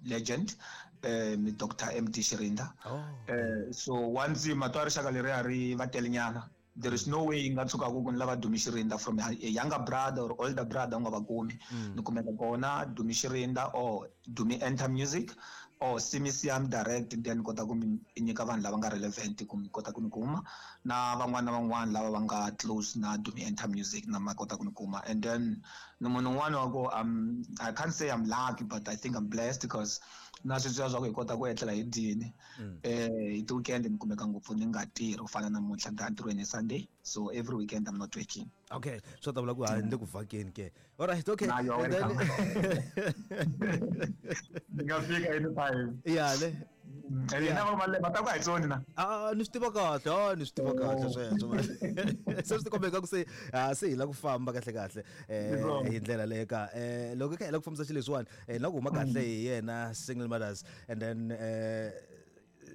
legend Dr. MD Shirinda. Oh. So once matwa rixaka leri a ri va telenyana, there is no way nga tshuka ku ni lava Dumi Shirinda from a younger brother or older brother u nga va kumi. Ni kumeka kona Dumi Shirinda or Dumi Enter Music or Simi Siam direct, then kota ku mi nyika vanhu lava nga relevant ku mi kota ku ni kuma, na van'wana na van'wana lava va nga close na Dumi Enter Music na ma kota ku ni kuma. And then ni munhu un'wana wa ku I can't say I'm lucky, but I think I'm blessed because na sweswiya swa ku hi kota ku etlela hi dyini. Hi ti-weekend ni kumeka ngopfu ni nga tirhi ku fana namuntlha ni ta entirhweni hi Sunday, so every weekend I'm not working. Okay, swo ta vula ku hayi ni le ku vhakeni ke. All right, okay. Na, you are And then welcome. Ni nga fika anytime. Ya, ne. And hina va va ta ku a hi tsoni na. Ah, ni swi tiva kahle, ah, ni swi tiva kahle sweswo. Se swi tikomba ingaku se, ah, se hi la ku famba kahle kahle, hi ndlela leyo ka. Loko hi kha hi la ku fambisa xilo lexiwani, na ku huma kahle hi yena Single Mothers, and then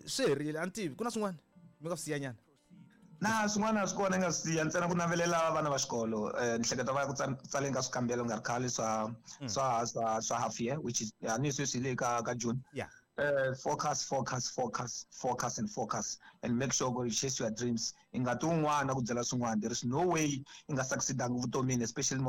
swi herile, a ni tivi ku na swin'wana mi nga swi siya nyana. Na swin'wana swi kona nga swi siya ntsena ku navelela vana va xikolo, ni hleketa va ya ku tsaleni ka swikambelo nga ri khale swa swa half year, which is a ni sweswi hi le ka June. Focus, focus, focus, focus and focus, and make sure you chase your dreams. I nga ti un'wana ku byela swin'wana, there is no way i nga succeedanga vutomini, especially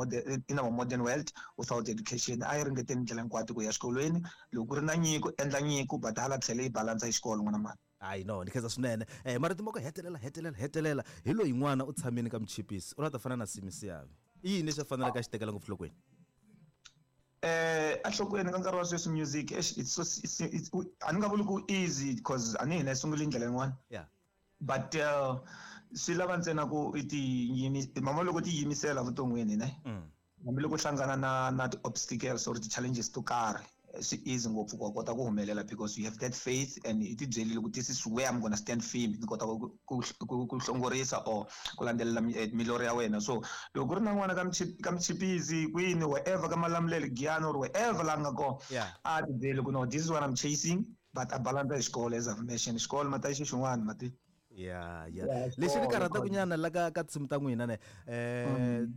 in our modern world without education. A yi ringeteni ndlela hinkwato ku ya xikolweni, loko ku ri na nyiko endla nyiko, but hala tlhela yi balansa hi xikolo n'wana mani. Hayi no, ni khensa swinene. Marito ma ku hetelela, hetelela, hetelela hi loyi n'wana u tshamile ka muchipisi, u la ta fana na Simi Siavi. I yini lexi a faneleke a xi tekela ngopfu nhlokweni? Enhlokweni ka nkarhi wa sweswi music, eish, it's so, it's, it's, a ni nga vuli ku easy because a ni hina hi sungule ndlela yin'wana. But swi lava ntsena ku i ti yimi-, mama loko ti yimisela vuton'wini, ne? Hambi loko hlangana na ti-obstacles or ti-challenges to karhi, swi easy ngopfu ku kota ku humelela because you have that faith and i ti byerile ku this is where I'm going to stand firm, ni kota ku hlongorisa or ku landzelela milorho ya wena. So loko ku ri na n'wana ka Muchipisi kwini, wherever ka Malamulele, Giyani or wherever la nga kona, a ti byeli ku no, this is what I'm chasing, but a balance hi xikolo as I've mentioned. Xikolo mata xi xin'wana mati. Ya, ya. Ya, Lexi ni xikolo, karhataka xikolo. nyana la ka tinsimu ta n'wina ne,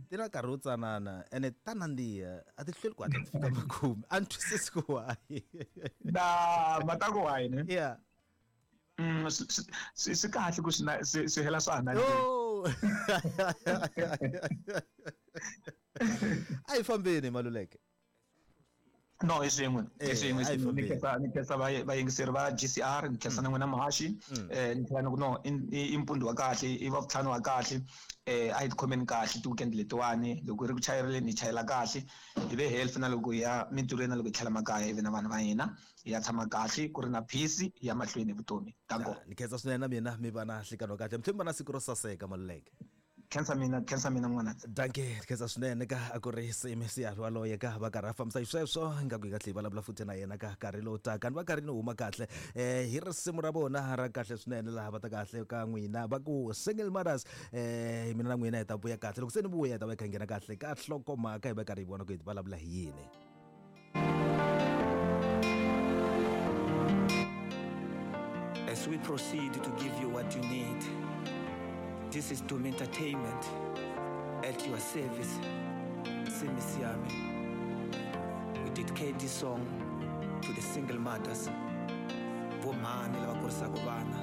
ti na nkarhi wo tsanana ene ta nandziha, a ti hlweli ku hatla ti fika makumu. A ni twisisi ku why. Na, mata ku why ne? Yeah. Swi kahle ku swi hela swa ha nandziha. Oh! A hi fambeni Maluleke. No, i swin'we, i swin'we, i A hi swin'we. Ni fambeni. khensa, ni khensa vayingiseri va GCR, ni khensa na n'wina muhaxi. Ni tlhela ni ku no, i mpundzu wa kahle, i wa vutlhanu wa kahle. A hi tikhomeni kahle ti-weekend letiwani, loko ri ku chayeleni hi chayela kahle, hi ve healthy na loko hi ya mintirhweni na loko hi tlhela makaya, hi ve na vanhu va hina, hi ya tshama kahle, ku ri na peace, hi ya mahlweni hi vutomi. Danko. Ya, ni khensa swinene na mina, mi va na nhlikano wa kahle, mi tlhela mi va na siku ro saseka Maluleke. Khensa mina, khensa mina n'wana. Danke, khensa swinene ka a ku ri Simi Siavi waloye ka va karhi a fambisa xisweswo, ingaku hi nga tlhela hi vulavula futhi na yena ka nkarhi lowu taka. Ni va karhi ni huma kahle, hi risimu ra vona ra kahle swinene laha va ta kahle ka n'wina va ku Single Mothers. Mina na n'wina hi ta vuya kahle, loko se ni vuya hi ta va hi kha hi nghena kahle ka nhlokomhaka, hi va karhi hi vona ku hi vulavula hi yini. As we proceed to give you what you need, this is Dumi Entertainment at your service. Simi Siami. We dedicate this song to the single mothers, vomhani lava kurisaka vana.